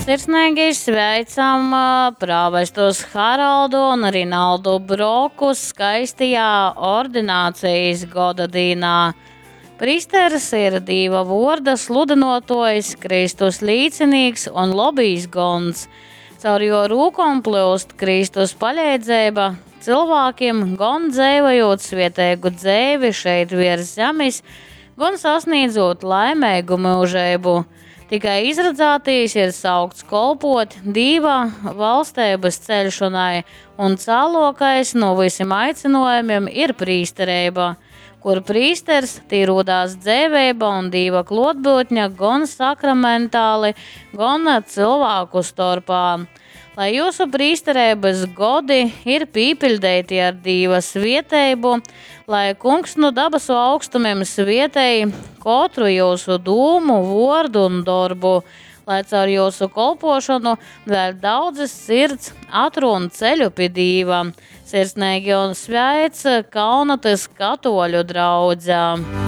Sirsneigi sveicam prāvestus Haraldu un Rinaldu Brokus skaistajā ordinācijas godadīnā. Prīsters ir Dīva vuorda sludynuotuojs, Kristus līcinīks un lobīs gons. Caur juo rūkom plyust Kristus paleidzeiba cylvākim, gon dzeivojūt svieteigu dzeivi šeit viers zemis, gon sasnīdzūt laimeigu myužeibu. Tikai izradzātīs ir saukts kolpot Dīva valsteibys ceļšonai, un cāluokais nu vysim aicynuojumim ir prīstereiba. Kur prīsters, tī rūdās dzeiveiba un Dīva kluotbyutne gon sakramentāli, gon cylvāku storpā. Lai jūsu prīstereibys godi ir pīpiļdeiti ar Dīva svieteibu, lai Kungs nu dabasu augstumim svietej kotru jūsu dūmu, vuordu un dorbu, lai caur jūsu kolpošanu vēļ daudzas sirds atrūn ceļu pi Dīva. Sirsneigi un sveic Kaunatas katoļu draudze.